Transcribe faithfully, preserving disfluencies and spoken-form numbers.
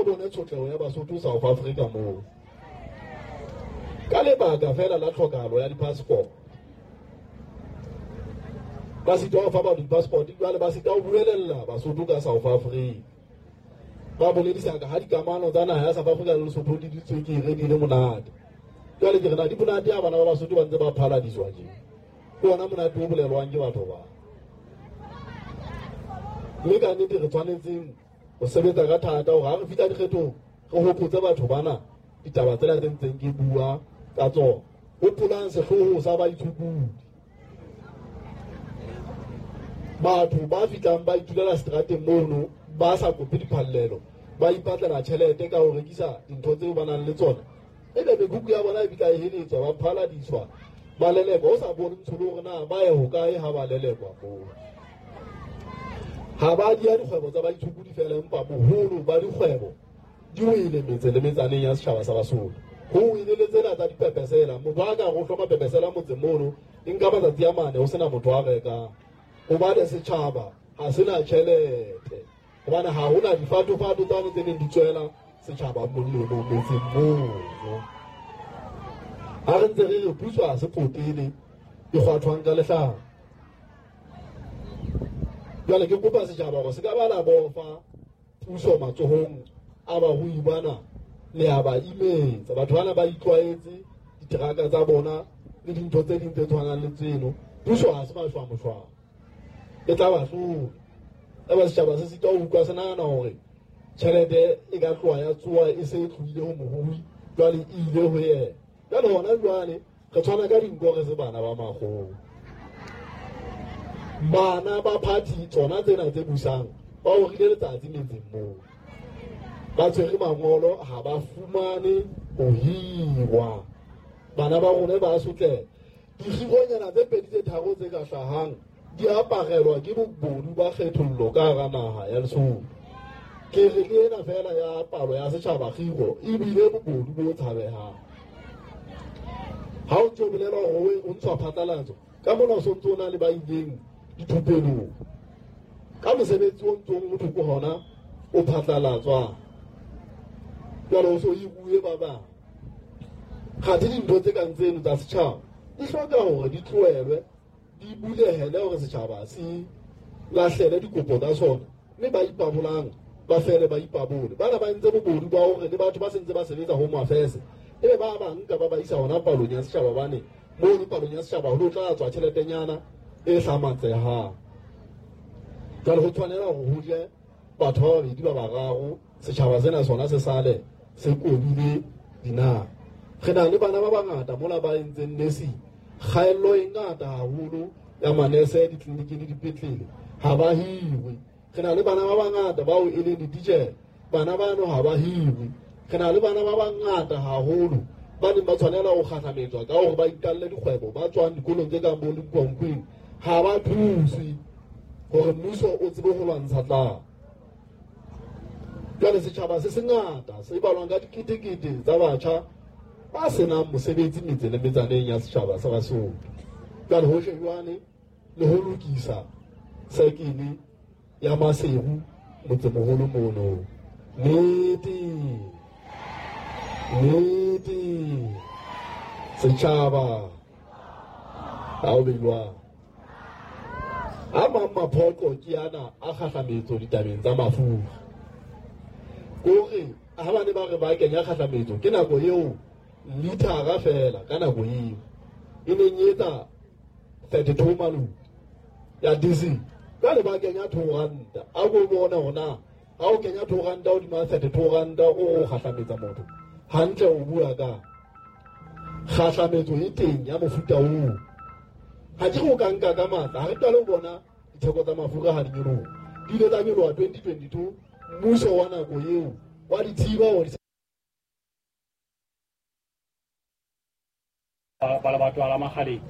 ko bone tshotleho ya Basotho South Africa moo. Ka lebaka fela la tlhokahalo ya di-passport. Ba sitwa ho fa batho di-passport, jwale ba sitwa ho buelella Basotho ka South Africa. Ba boledisa ka ha dikamano tsa naha ya South Africa le Lesotho di ditswekere di le monate. Jwale ke re na di monate ha bana ba Basotho ba ntse ba phaladiswa tje. Ke ona monate o bolelwang ke batho ba. Mme ka nnete re tshwanetseng ho sebetsa ka thata hore ha re fihla dikgethong re hopotse batho bana ditaba tsena tse ntseng ke bua ka tsona. Hopolang sehlooho sa baitshokodi. Batho ba fihlang ba itulela seterateng mono ba sa kope diphallelo, ba ipatlela tjhelete ka ho rekisa dintho tseo ba nang le tsona. Ebe mekhukhu ya bona e bitla e heletswa, ba phaladiswa, ba lelekwa. O sa bone ntsholo hore na ba ye hokae ha ba lelekwa moo. Ha ba dia dikgwebo tsa baitshokodi fela, empa boholo ba dikgwebo di wele metse le metsaneng ya setjhaba sa Basotho. Ho wele le tsena tsa dipepesela. Motho a ka re o hloma pepesela motseng mono, e nka matsatsi a mane ho sena motho a rekang. Hobane setjhaba ha sena tjhelete. Hobane ha hona difatofato tsane tse neng di tswela setjhaba molemo metseng mono. Ha re ntse re re puso ha se potele e kgwathwang ka lehlaka. Jwale ke kopa setjhaba hore se ka ba la bofa puso matsohong a barui bana, le a ba imetsa. Batho bana ba itlwaetse diteraka tsa bona le dintho tse ding tse tshwanang le tseno. Puso ha se mashwa-moshwana, e tla ba hlola. Eba setjhaba se sitwa ho utlwa, se nahana hore tjhelete e ka tloha ya tsoha e se e tlohile ho morui, jwale e ile ho yena. Jwale hona jwale re tshwana ka dinko re se bana ba makgowa. Bana ba party tsona tsena tse busang ba orile letsatsi metseng moo. Ba tshwere mangolo, ha ba fumane ho hirwa. Bana ba rona ba sotleha. Dikgironyana tse pedi tse tharo tse ka hlahang di aparelwa ke bobodu ba kgethollo ka hara naha ya Lesotho. Ke re le ena fela ya palo ya setjhaba kgiro ebile bobodu bo tshabehang. Ha o ntso bolela hore o ntshwa phatlalatso, ka mona o sontso o na le ba ileng dithupelong. Ka mosebetsi o ntsong o thoko hona o phatlalatswang. Jwale o so hiruwe ba bang. Kgathe dintho tse kang tseno tsa setjhaba di hloka hore di tlohelwe, di bulehele hore setjhaba se lahlele dikopo tsa sona, mme ba ipabolang ba fele ba ipabole. Bana ba entse bobodu ba hore le batho ba sentse ba sebetsa Home Affairs, ebe ba ba nka ba ba isa hona palong ya setjhaba, bane mono palong ya setjhaba ho tla tswa tjheletenyana e hlamatsehang. Jwale ho tshwanela hore ho je batho ba babedi ba bararo, setjhaba sena sona se sale se kobile dinaha. Re na le bana ba bangata mola ba entseng nursing, kgaello e ngata haholo ya manese ditleliniking le dipetlele, ha ba hirwe. Re na le bana ba bangata bao e leng dititjhere, bana bano ha ba hirwe. Re na le bana ba bangata haholo ba neng ba tshwanela ho kgahlametswa ka hore ba iqalle dikgwebo, ba tswang dikolong tse kang bo Limpopo, ha ba thuswe hore mmuso o tsebe ho lwantsha tlala. Jwale setjhaba se sengata se balwang ka diketekete tsa batjha ba senang mosebetsi metse le metsaneng ya setjhaba sa Basotho. Jwale ho shejwane le ho lokisa sekele ya Maseru motsemoholo mono. Nnete, nnete, setjhaba ha o beilwang. A mang maphoqo ke ana a kgahlametso ditabeng tsa mafura. Kore ha ba ne ba re ba kenya kgahlametso ke nako eo lithara fela ka nako eo e neng e etsa thirty-two maloti ya diesel. Jwale ba kenya two ranta. A ko bone hore na ha o kenya two ranta hodima thirty-two ranta o kgahlametsa motho hantle, o bua ka kgahlametso e teng ya mofuta oo. Ha ke re o ka nka ka matla, ha re qale ho bona ditheko tsa mafura ha di nyoloha. Di ile tsa nyoloha twenty twenty-two, mmuso wa nako eo wa di thiba hore ba lebatwa la Makgaleng.